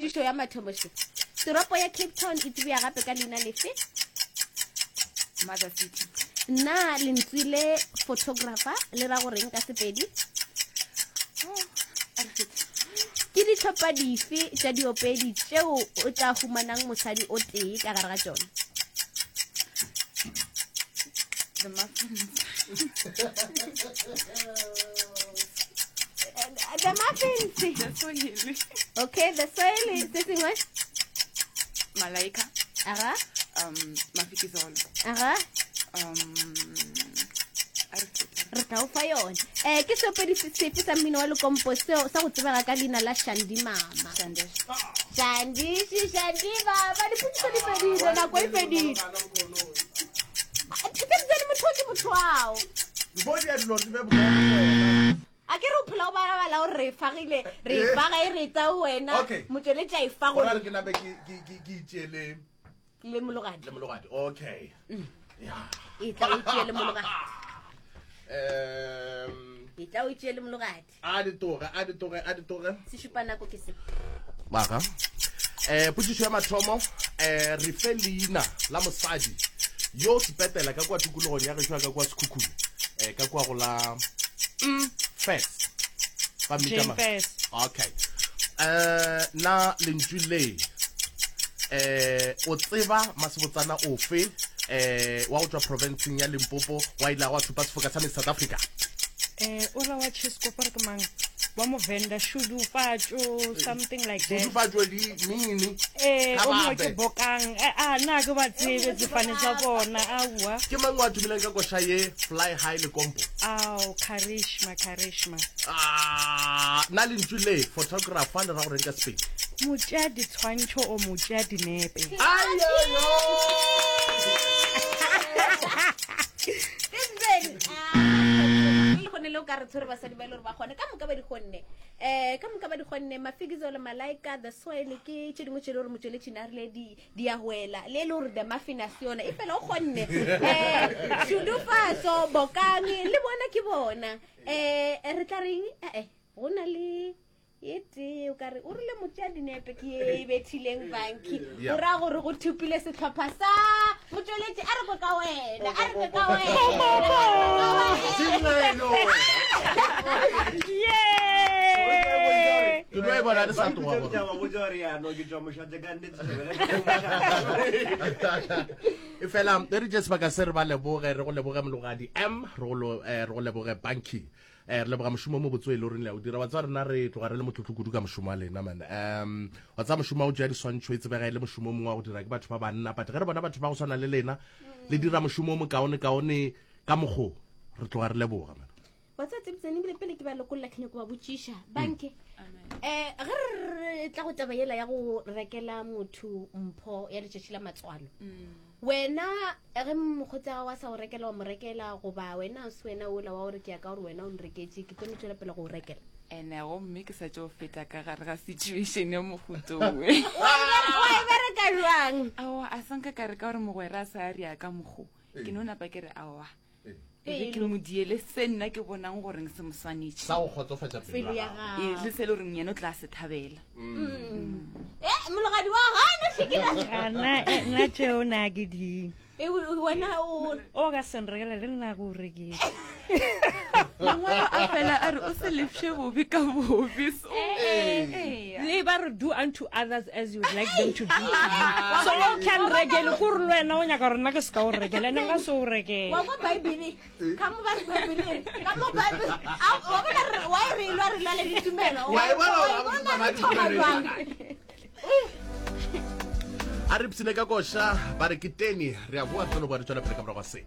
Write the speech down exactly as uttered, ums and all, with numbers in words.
Potšišo ya mathomo še. Toropo ya Cape Town e tsebja gape ka leina lefe? Mother City. Na lentswe le photographer le ra goreng ka Sepedi? Oh, a re fete. Ke dihlopha dife tša diopedi tšeo o tla humanang mosadi o tee ka gare ga tšona? The Muffins. The Muffins. The Swahili. Okay, the Swahili. Se sengwe? Malaika. Aga. Um, Mafikizolo. Aga. Um, a re fete. Re tla o fa yone. Um ke seopedi se- sefe sa mmino wa lekompo seo sa go tsebega ka leina la Shandi Mama? Shandesh. Shandishi, Shandi Mama. Dipotšišo di fedile, nako e fedile. Tsebjane motho o ke motho ao. Before di a dilo di be bonolo go wena. A ke re o phela o balabala gore re e fagile, re e faga e re tsa wena. Okay. Motšweletši a e fa Gona gore re ke nape ke ke ke ke itšeele le mologadi. le mologadi. Okay. Yeah. E tla o itšee le mologadi. Um E tla o itšee le mologadi. a di toge, a di toge, a di toge. Se šupa nako ke se. Mara. Eh potšišo ya mathomo, eh re fe leina la mosadi yo sepetela ka kua tikologong ya gešo ya ka kua Sekhukhune, eh ka kua go la mm, Fes. Ba mmitša Jane mang? Fes. Okay. Eh na lentšu le eh o tseba masebotsana ofe eh wa go tšwa provinceng ya Limpopo wa ile wa thupa sefoka sa Miss South Africa? Eh, o la wa Chisco gore ke mang? Wa Movenda, Shudufatso, something like that. Shudufatso di mini. Eh, o mongwe ke Khababe. Bokang. Eh, ah, nna ke ba tsebe tsefane tsa bona, aowa. Ke mang wa tumileng ka koša ye Fly High le Kompo? Ao, Karishma, Karishma. Ah, na lentšu le photographer le ra goreng ka Sepedi? Motšea ditshwantšho o motšea dinepe. Ayoyo! Le kgone le o ka re tshwere basadi ba e le gore ba kgone ka moka ba di kgonne, um ka moka ba di kgonne. Mafikizolo, Malaika, the Soil ke tše dingwe tše le gore motšweletši a rile di di a wela le e le gore the muffin a se yona e fela o kgonne. Um Šudufatso, Bokang le bona ke bona. Um re tla reng ee go na le e tee o ka re o rile motšea dinepe ke ye e bethileng banki. Yeah. O raya gore go thupile sehlopha sa motšweletši. A re kwe ka wena, a re kwe ka wena. Sengwelo! Yeah! Ke no e bona le sa tloga gore. E fela e re tše sebaka se re ba leboge, re go leboge Mologadi M, re go lo- eh, re go leboge Banki. Eh, re leboga mošomo o mobotse o e le goreng le a o dira. Wa tseba rena re tloga re le motlotlo kudu ka mošomo wa lena man. Um wa tseba mošomo wa go tšea diswantšho e tsebega e le mošomo o mongwe wa go dira ke batho ba banna, but ge re bona batho ba go swana le lena le dira mošomo o mokaone kaone ka mokgo, re tloga re leboga man. Wa tseba tsebitsane ebile pele ke ba lokolla ke nyako ba botšiša banke, um ge re tla go taba yela ya go rekela motho mpho ya letšatši la matswalo, wena ge mokgotsi wa gago a sa go rekela wa mo rekela, goba wena o se wena ola wa gore ke ya ka gore wena o nreketše ke tlo no tšwela pele go o rekela? Ene gomme ke sa tšo feta ka gare ga situation ya mohuto we. Wa e bereka jwang? Aowa, a sanka ka re ka gore mogwera a sa ria ka mokgo, ke no napa ke re aowa, e be ke mo diele se nna ke bonang goreng se mo swanetše Sa go kgotsofatša pelo pelo ya ya gago. Ee, gago. le se e le goreng yena o tla se thabela. E mologadi wa gana šikela. Ah, nna eh, nna tšeo na ke di. Wena o O ka se nrekele le nna ke o rekele. Mangwalo a fela a re o se lefše bobe ka bobe, so ee. Le ba re do unto others as you would like them to do to you. So o can rekele gore le wena o nyaka gore nna ke se ka o rekela, ene nka se o rekele. Wa kwa Bible ka mo ba re Bible ka mo Bible wa bona re wa e re lwa re lwa le ditumelo. Wa e bona Wa gore e bona ga re ba thoma ditumelo. jwang? A re psile ka koša ba re ke tene re a boa re tlo no boa re tšwela pele ka morago ga se.